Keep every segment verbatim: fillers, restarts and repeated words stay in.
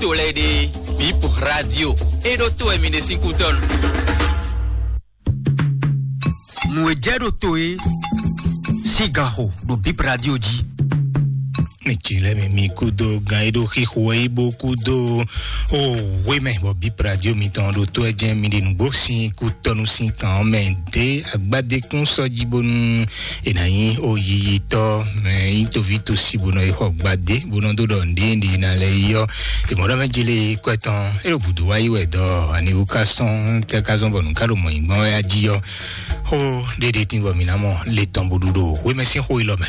To lɛ́ɛ ɖe, Bip Radio, é ɖó to wɛ mi ɖe sín kútɔ́nu. Nǔ e jɛ ɖo to é sín gan xo ɖo Bip Radio jí. Mi tsi lɛ mi mi kúdó gan e ɖo xixo wɛ yi bó kúdó o wé mɛ bɔ Bip Radio mitɔn ɖo to ɛ jɛ mi ɖe nǔgbó sín kútɔ́nu sín kan ɔ́ mɛ dé agbádékún sɔ́ jí bónú è nǎ nyí o yiyitɔ́ mɛ nyí toví tosi bó nɔ yi xɔ gbadé bó nɔ dó ɖɔ nǔɖé ɖě ná lɛ́ yi ɔ́. È mɔ ɖɔ mɛ jele kwɛ tɔn é ɖo gǔdo wá yi wɛ dɔ aniwú ká sɔn tɛ ká zɔn bɔ nǔ ká ɖo mɔ nyi gbɔn wɛ ají ɔ́. Xó ɖéɖé tín bɔ mǐ ná mɔ le tɔn bó ɖu ɖo wémɛsín xó élɔ́ mɛ.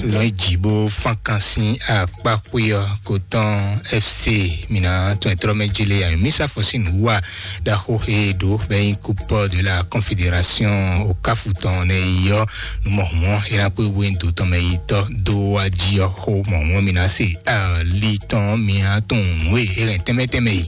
Lɔn jí bó fán kan sín akpá xwé ɔ́ kó tɔn F C mǐ ná tɔn ɛ trɔ́ mɛ jele ayɔmísàfɔ sín nǔ wá ɖaxó e ɖó bɛ nyí Coupe de la Confédération o káfu tɔn nɛ yi ɔ́, nú mɔ̌hunmɔ́ é ná kpé wé dó tɔn mɛ yi tɔ́ dó wá jí ɔ́ xó mɔ̌hunmɔ́ mǐ ná se ali tɔn mǐ ná tunwun nǔ e é hɛn tɛnmɛ tɛnmɛ yi.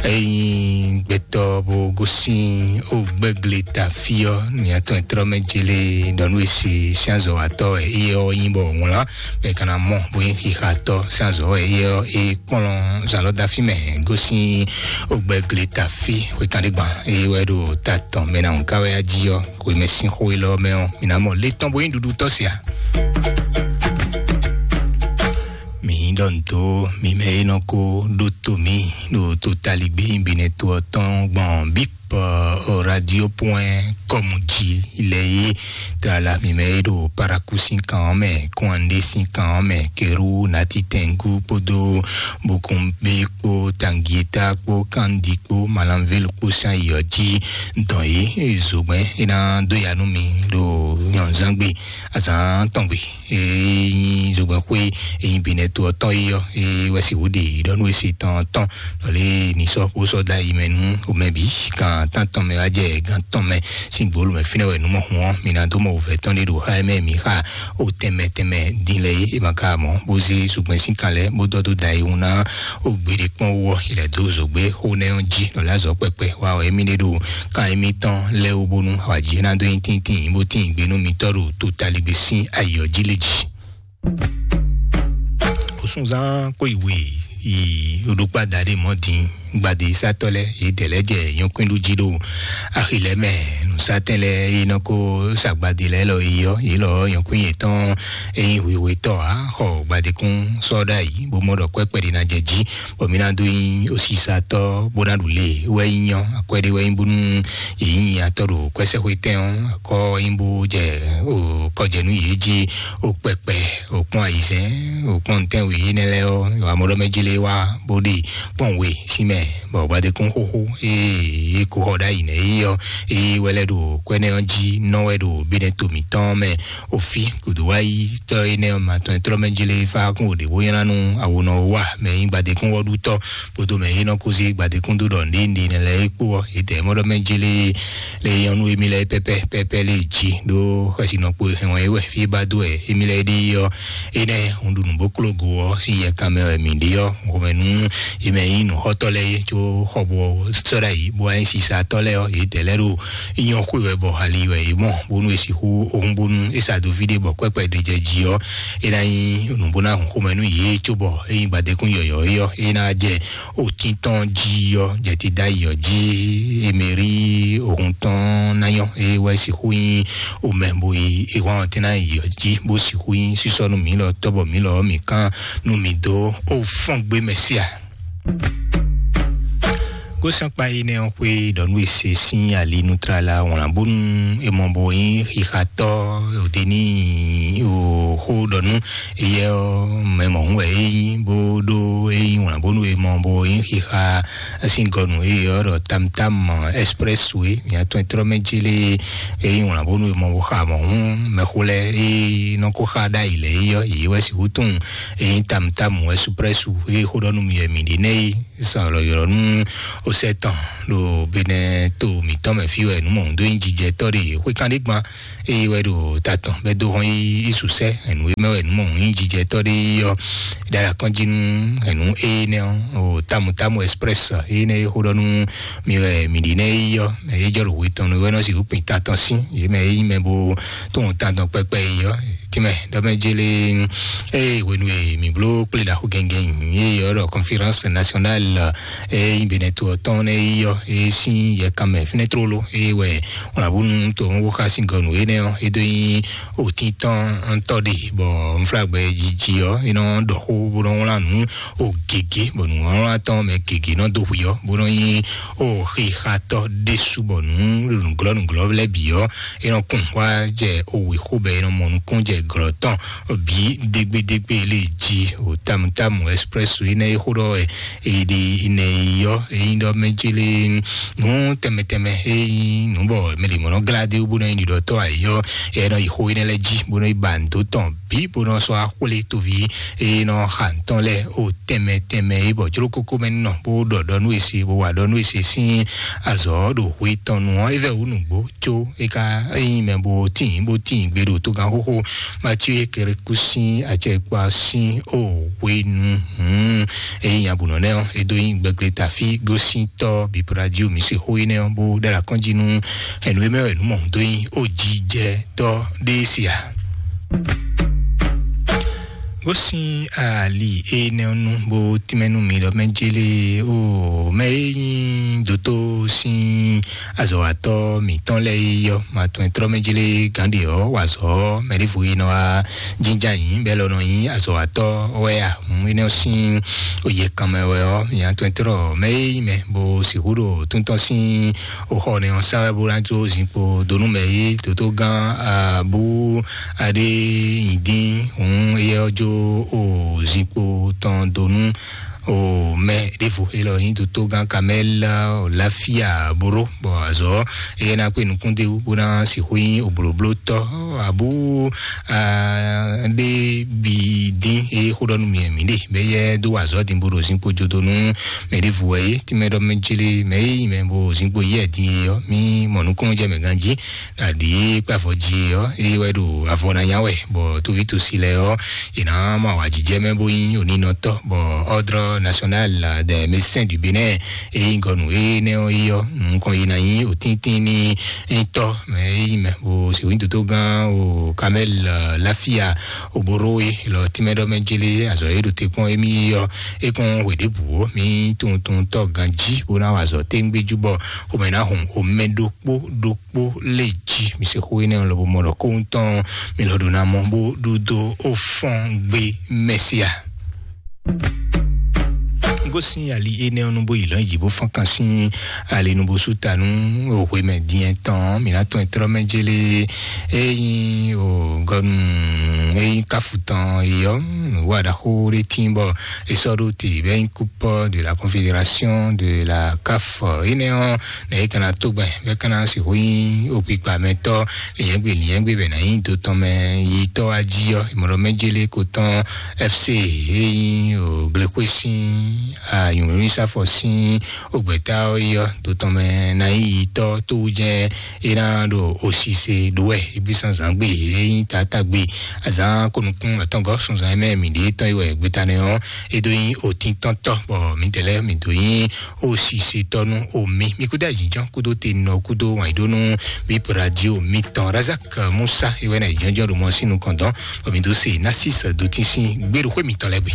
Eyin gbɛtɔ bó gosín ó gbɛ́gle ta fí ɔ́, ní atɔn trɔ́ mɛ jele ɖɔ nú esi sín azɔ̌watɔ́ wɛ é ɔ́ nyí bɔ wlán bɛ kana mɔ bó nyí xixatɔ́ sín azɔ̌ wɛ é ɔ́ é kplɔ́n zǎn lɔ dó afí mɛ gosín ó gbɛ́gle ta fí xwékanɖégban é wɛ ɖo ta tɔn mɛ ná nǔ ká wɛ á jí ɔ́. Xwemɛ sín xó élɔ́ mɛ ɔ́, mǐ ná mɔ lé tɔn bó nyí ɖuɖu tɔ́ sia. Mǐ ɖɔ nǔ dó mi mɛ e nɔ ko ɖó to mǐ ɖo totaligbé nyibinɛ to ɔ́ tɔn gbɔn bip radio point com jí lɛ yé. Tlala mi mɛ e ɖo paraku sín kan ɔ́ mɛ, kúnwandé sín kan ɔ́ mɛ, keru natitɛngu kpódó bokunbé kpó tangieta kpó kandi kpó malanvelu kpó sín ayǐ ɔ́ jí dɔn yě zogbɛ́n é ná dó ya nú mi ɖo nyɔ̌nzán gbe azǎn tɔn gbe. Ényí zogbɛ́n xwé ényí binɛ to ɔ́ tɔn yi ɔ́, é wɛ si wú ɖe ɖɔ nú esi tɔn tɔn lɔlé ní sɔ́ bó sɔ́ dó ayi mɛ nú omɛ bǐ kan tán tɔn mɛ wá jɛ gán tɔn mɛ sín gbolo mɛ fínɛ́ wɛ nú mɔ hun ɔ́ mi ná dó mɔ wǔvɛ́ tɔn ɖé ɖo xá ɛ mɛ mǐ xa o tɛnmɛ tɛnmɛ dín lɛ é é ma ka mɔ bó zé zogbɛ́n sín kan lɛ́ bó dɔ́ dó da yi wun ná o gbeɖé kpɔ́n wú ɔ́ ilẹ̀ dó zǒgbé xó nɛ́ ɔ́ jí lɔlá zɔ̌ kpɛkpɛ wa wɛ émí ɖé ɖo kan émítɔn lɛ́ wú bónú awǎjijɛ ná dó nyí tíntín bó tín gbe nú mitɔ́ ɖo totaligbé sín ayǐ ɔ́ jí lé jí. Osunzan kó ìwé yi oɖokpá daɖé mɔ̌ dín gbadé sátɔ́ lɛ́ɛ yě dɛ̌ lɛ́ jɛ nyɔ̌kwín ɖu jí ɖo axi lɛ́ɛ mɛ. Nǔsátɛn lɛ́ɛ yi nɔ ko sa gbadé lɛ́ɛ lɔ yi ɔ́ yě lɔ nyɔ̌kwín yětɔn e nyí hwihwetɔ́ ǎ xɔ gbadékún sɔ́ ɖ'ayǐ bó mɔ ɖɔ kwɛ́kpɛ́ ɖé ná jɛ jí bɔ mǐ ná dó nyí osisatɔ́ bó ná ɖu lě wɛ nyí nyɔ́ akwɛ́ ɖé wɛ nyí bónú yě nyí atɔ́ ɖo kwɛ́sɛ́xwétɛn ɔ́ akɔ́ nyí bó jɛ kɔjɛnú yě jí o kpɛkpɛ o kpɔ́n ayizɛ́n o kpɔ́n ntɛ́nwe énɛ́ lɛ́ɛ ɔ́ wamɔɖɔmɛ jí lé wá bó ɖe kpɔ́n we sín mɛ bɔ gbadékún xóxó ée é ko xɔ ɖ'ayǐ nɛ́ é ɔ́ é wɛ lɛ́ ɖo kwɛ́nɛ́ ɔ́ jí nɔ wɛ ɖo bínɛ́ to mǐtɔn mɛ. Òfin kùdùwáyítɔ́ énɛ́ ɔ́ ma tɔn e tlɔ́ mɛ jlé fá kún òɖě bó nylá nú awonɔ wa mɛ nyí gbadékún wɔ́ɖútɔ́ kpódó mɛ e nɔ kó zé gbadékún dó ɖɔ nɖénɖé nɛ lɛ́ɛ é kpó ɔ́, yědɛɛ mɔɖɔ mɛ jlé lé nyɔ́nú émí lɛ́ɛ pɛ́pɛ́ pɛ́pɛ́ lé jí ɖó xɛsinɔ kpo hɛn wɛ é wɛ fí é ba dó wɛ émí lɛ́ɛ ɖe yi ɔ́. Énɛ́ un ɖu nǔ bó kló go ɔ́ sín yɛkan mɛ wɛ mǐ ɖe ɔ́, xomɛ nú è mɛ nyí nǔxɔtɔ́ lɛ́ɛ é, có xɔ bɔ sɔ́ ɖ'ayǐ bó wá nyí sisatɔ́ lɛ́ɛ ɔ́, yědɛɛ lɛ́ɛ ɖo nyɔ́ xwe wɛ bɔ ali wɛ é mɔ bónú è sixú ohun bónú é sa dó fí ɖé bɔ kwɛ́kpɛ ɖé jɛ jí ɔ́, é ná nyí nǔ bó ná hun xomɛ nú yě cóbɔ é nyí gbadékún yɔ̌yɔ́ é ɔ́, é ná jɛ otín tɔn jí ɔ́, jɛ ti dó ayǐ ɔ́ jí, émeri ohun tɔn ná nyɔ́, é wɛ sixú nyí omɛ bo yi é hɔn ɔ́ tɛ́ ná yi ɔ́ jí bó sixú nyí sísɔ́ nú mǐ lɔ tɔ́bɔ mǐ lɔ ɔ́ mǐ kán nú mǐ dó ó fɔ́n gbé mɛ sí a. Gósɛnkpa énɛ́ ɔ́ xwé ɖɔ nú è se sín ali nú tlala wlán bónú è mɔ bɔ nyí xixatɔ́ òde ní xó ɖɔ nú éyɛ́ ɔ́ mɛ mɔ̌hún wɛ é nyí bó ɖó é nyí wlán bónú è mɔ bɔ nyí xixa sín gɔnu éyɛ́ ɔ́ ɖɔ tamtam expressway mǐatɔn trɔ́ mɛ jélé é nyí wlán bónú è mɔ bó xa mɔ̌hún mɛxó lɛ́ɛ é nɔ kó xa ɖ'ayǐ lɛ́ɛ é ɔ́ yě wɛ sixú tunwun é nyí tamtam expressway é xó ɖɔ nú mi wɛ mǐ ɖe nɛ́ é. Sɔlɔ ylɔ́ nú osɛ tɔn ɖo benɛ to mǐtɔn mɛ fí wɛ nǔ mɔ dó nyí jijɛtɔ́ ɖe xwékanɖégban eye wɛ ɖo ta tɔn bɛ dó hɔn yí isusɛ ɛnu e mɛ wɛ nǔ mɔ nyí jijɛtɔ́ ɖe ɔ́ ɖala kɔn jí nú ɛnu énɛ́ ɔ́ o tamu tamu express énɛ́ e xó ɖɔ nú mi wɛ mi ɖi nɛ yi ɔ́ mɛ e jɔ ɖo hwe tɔn nu wɛ nɔ sixú kpin ta tɔn sín yě mɛ e nyí mɛ bo tó hɔn ta tɔn kpɛkpɛ yi ɔ́ Tìmɛ ɖɔ mɛ jele, eye hwenu e mǐ bló kplé ɖaxó gɛngɛn, eye ɔ́ ɖɔ conférence nationale, eye nyí Benɛto ɔ́ tɔn nɛ́ yi ɔ́, eye sín yɛkanmɛ fínɛ́ tlóló, eye wɛ wlǎbúnu to ɔ́ wó xá sín gɔnu énɛ́ ɔ́, é dó nyí òtíntɔ́ntɔ́ ɖe, bɔ nflágbɛ jiji ɔ́, é nɔ ɖɔ xó bó nɔ wlán nǔ o gěgé, bɔ nǔwlánwlán tɔn mɛ gěgé nɔ dó hwi ɔ́, bó nɔ nyí o xixatɔ́ ɖésú, bɔ nǔ nǔglɔ́ nǔglɔ́ lɛ́ɛ bǐ ɔ́, é nɔ kún wá jɛ o wěxóbɛ, é nɔ mɔ nukún jɛ glɔ́ tɔn bǐ dégbédégbé lé jí o tamutámu express énɛ́ é xó ɖɔ wɛ èɖi nɛ yi ɔ́, é nyí ɖɔ mɛ jí lé nǔ tɛnmɛ tɛnmɛ é nyí nǔ bɔ mɛ lě mɔ nɔ glá dé bó nɔ nyí ɖiɖɔtɔ́ ayǐ ɔ́, é nɔ yi xó énɛ́ lɛ́ɛ jí bó nɔ yi ba nǔ dó tɔn bǐ bó nɔ sɔ́ axwlé toví e nɔ xa ntɔn lɛ́ɛ o tɛnmɛ tɛnmɛ e bɔ jló kókó mɛ nɔ bó ɖɔ ɖɔ nú ese bó wa ɖɔ nú ese sín azɔ̌ ɖo hwe tɔn nu ɔ́, é vɛ wú nǔgbó có é ka é nyí mɛ bó tín bó tín gbe ɖo tógán xóxó Matíu Ekereku sín acɛkpa sín o hwenu hǔn. É nyí abǔnɔ nɛ́ ɔ́, é dó nyí gbɛgblétafí gósíntɔ́ bíprádió mǐ se xó énɛ́ ɔ́ bó ɖó alakɔ́njí nú ɛnǔ e mɛ wɛ nǔ mɔ dó nyí o jijɛ tɔ́ ɖé sia. Bó sín ali énɛ́ ɔ́ nu bó tínmɛ nú mi ɖɔ mɛ jélé o mɛ e nyí dótó sín azɔ̌watɔ́ mǐtɔn lɛ́ɛ é yɔ́, ma tɔn e tlɔ́ mɛ jélé gǎn ɖe ɔ́ wa azɔ̌ mɛ ɖěvo e nɔ wá jínjɔ́n ayǐ bɔ é lɔ nɔ nyí azɔ̌watɔ́ wɛ a? Hǔn énɛ́ ɔ́ sín oyě kan mɛ wɛ ɔ́, nya tɔn e tlɔ́ mɛ e nyí mɛ bó sixú ɖo tún tɔn sín o xɔ nɛ ɔ́ sa wɛ bó ná jó zinkpo dó nú mɛ e dótó gán abú aɖé nyi dín hǔn éyɛ́ ɔ́ jó o zinkpo tɔn dó nú o mɛ ɖěvo élɔ́ nyí dótó gán kamɛ́l láfíà bóró bɔ azɔ̌ éyɛ́ ná kpé nukún dé wú bó ná sixú nyí oblǒblótɔ́ abú ɖé bǐ dín é xó ɖɔ nú mì mǐ ɖe bɛ yɛ dó wa azɔ̌ din bó ɖo zinkpo jó dó nú mɛ ɖěvo wɛ é tínmɛ ɖɔ mɛ jélé mɛ é nyí mɛ bó zinkpo yɛ din é ɔ́ mì mɔ nukúnnú jɛ mɛ ganjí aɖǐ kpé avɔ jí ɔ́ é wɛ ɖo avɔ ná nya wɛ bɔ tóví tosi lɛ ɔ́ è nǎ mɔ awǎjijɛ mɛ bó nyí oninɔtɔ́ bɔ ordre national des médecins du Bénin é nyí gɔnu énɛ́ ɔ́ yi ɔ́ nukɔn yi ná nyí òtíntín ní tɔ́ mɛ é nyí mɛ bó sèwín dódó gán o kamɛl láfíà oboro é lɔ tínmɛ ɖɔ mɛ jélé azɔ é ɖo te kpɔ́n émí yi ɔ́ é kún hwe ɖěbǔ ó mí tuntuntɔ́ ganjí bó ná wa azɔ téńgbéjú bɔ xomɛ ná hun omɛ ɖokpó ɖokpó lé jí mi se xó énɛ́ lɔ bó mɔ ɖɔ kóhun tɔn mi lɔ ɖo ná mɔ bó ɖúdó ó fɔ́n gbé mɛsíà. Gosín ali énɛ́ ɔ́ nú bó yi lɔ̌n yi bó fɔ́n kan sín ali nú bó sú ta nú òhwe mɛ dín tɔn mi ná tɔn ɛ tlɔ́ mɛ jélé é nyí o gɔnu é nyí káfù tɔn yi ɔ́ wá ɖaxó ɖé tín bɔ é sɔ́ ɖó te bɛ nyí kúpɔ de la confédération de la caf énɛ́ ɔ́ nɛ é kana tó gbɛn bɛ kana sixú nyí òkpikpa mɛtɔ́ lìyɛ́ngbé lìyɛ́ngbé bɛ ná nyí do tɔn mɛ yi tɔ́ wá jí ɔ́ ìmọ̀ràn mɛ jélé ko tɔn fc é nyí o gblexwé sín anyǔmímísafɔ sín ògbɛ́tá ɔ́ yi ɔ́ do tɔn mɛ ná nyí yi tɔ́ tó wú jɛ́n é ná ɖo osise ɖó wɛ é bí sánzán gbe é nyí tatagbe azán kónukún atɔngɔ sunzan mɛ mi ɖe tɔn yi wɛ gbeta nɛ ɔ́ é dó nyí otíntɔntɔ bɔ mi tɛlɛ mi dó nyí osise tɔnu omi mi kúdà jíjɔn kúdó te nɔ kúdó wàn dó nú bip radio mi tɔn razak musa iwɛ na jíjɔn ɖo mɔ sínú kɔndɔn bɔ mi dó se nasis dó tí sín gbèrú xwé mi tɔn lɛ gbe.